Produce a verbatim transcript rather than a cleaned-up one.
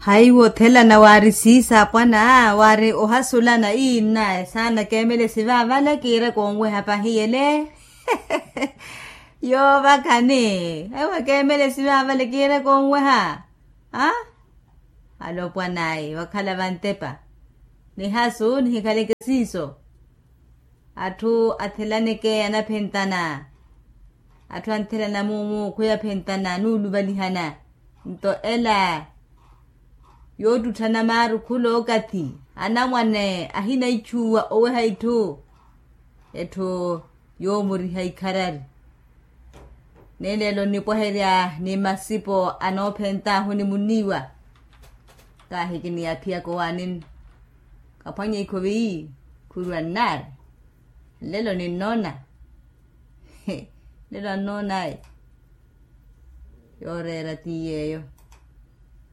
Haiwo othelana waari siisa apwana waari ohasulana ii nnaye saana keemele sivavale kiire koonweha pahiyele. Yoovakhani haiwo keemele sivavale kiire koonweha. Alopwan'ayi vakhala vantepa. Nihasu nihikhaleke siiso. Atthu athelaneke anaphentana. Atthu anthelana muumu khwiyaphentana nuuluvalihana. Nto ela yoottutthana maaru khulookathi anamwane ahina itthuwa oweha itthu. Etthu yoomuriha ikharari. Neeleelo nnipwaherya ni masipo anoophent'ahu ni muniiwa. Kaahi kiniyaaphiyaka owaanini. Kaphwanya ikhovi khurwa nnaari. Nlelo ninnoona. Nlelo annoon'aye. Yooreera ti yeeyo.